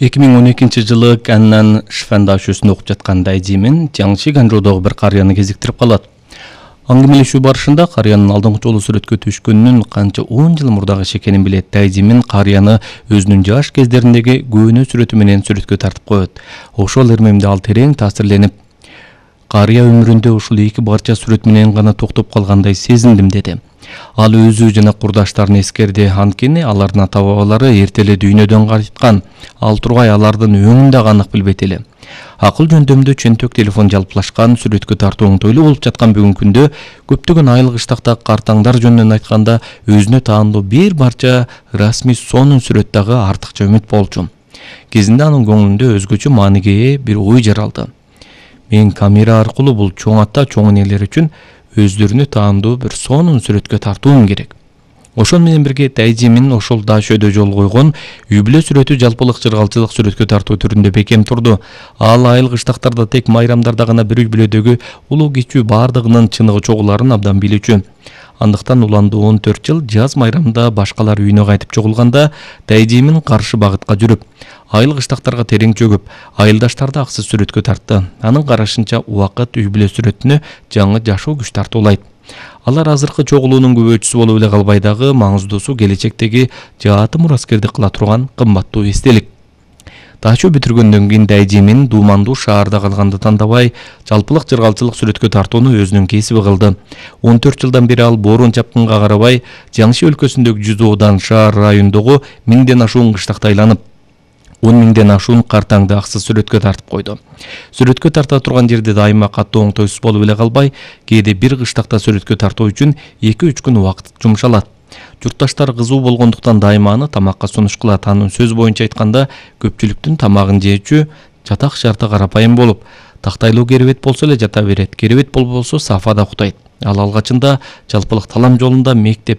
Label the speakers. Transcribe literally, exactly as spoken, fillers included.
Speaker 1: эки миң он экинчи жылы Каннан Шифан дашөсүндө окуп жаткан Дайжимин Жаңчи Ганжоодогу бир карыяны кезиктирип калат. Аңгемелешүү барышында карыянын алдыңкы жолу сүрөткө түшкөнүнүн канча он жыл мурдагы иш экенин билет. Дайжимин карыяны өзүнүн жаш кездериндеги көөнө сүрөтү менен сүрөткө тартып коет. Ошол эрмемде ал терең таасирленип, карыя өмүрүндө ушул эки барча сүрөт менен гана токтоп калгандай сезиндим деди. Ал өзү жана курдаштарын эскерди, анткени алардын ата-бабалары эрте эле дүйнөдөн кайткан. Ал тургай алардын өңүн да анык билбейт эле. Акыл жөндөмдө чөнтөк телефон жалплашкан, сүрөткө тартуу оңтойлуу болуп жаткан бүгүнкү күндө көптөгөн айыл кыштактагы картаңдар жөнүнөн айтканда өзүнө таандуу бир барча расмий сонун сүрөт дагы артыкча үмүт болчу. Кезинде анын көңүлүндө өзгөчө мааниге ээ бир ой жаралды. Мен камера аркылуу бул чоң ата, чоң энелер үчүн өздөрүнө таандуу бир сонун сүрөткө тартуум керек. Ошол менен бирге Дайжимин ошол дашөдө жол койгон үй бүлө сүрөтү жалпылык жыргалчылык сүрөткө тартуу түрүндө бекем турду. Ал айыл кыштактарда тек майрамдарда гана бир үй бүлөдөгү улуу кичүү бардыгынын чыныгы чогуларын абдан билүүчү. Андыктан уланды он төрт жыл жаз майрамда башкалар үйүнө кайтып чогулганда Дайжимин каршы багытка жүрүп, айыл кыштактарга терең чөгүп, айылдаштарды аксыз сүрөткө тартты. Анын карашынча убакыт үй бүлө сүрөтүнө жаңы жашоо күч тартуулайт. Алар азыркы чогулуунун күбөчүсү болуп эле калбай дагы маңыздуусу келечектеги жааты мураскердик кыла турган кымбаттуу эстелик. Дашөө бүтүргөндөн кийин Дайжимин дуумандуу шаарда калганды тандабай, жалпылык жыргалчылык сүрөткө тартууну өзүнүн кесиби кылды. он төрт жылдан бери ал боорун чапкынга карабай, Жаңчи өлкөсүндөгү Жүзоодан шаар районундогу миңден ашуун кыштакта айланып, он миңден ашуун картаңды аксыз сүрөткө тартып койду. Сүрөткө тарта турган жерде дайыма катуу оңтойсуз болуп эле калбай, кээде бир кыштакта сүрөткө тартуу үчүн эки үч күн убакыт жумшалат. Журтташтар кызуу болгондуктан дайыма аны тамакка сунуш кылат. Анын сөз боюнча айтканда, көпчүлүктүн тамагын жээчү жатак шарты карапайым болуп, тактайлуу керебет болсо эле жата берет, керебет болбосо сафада уктайт. Ал алгачында жалпылык талам жолунда мектеп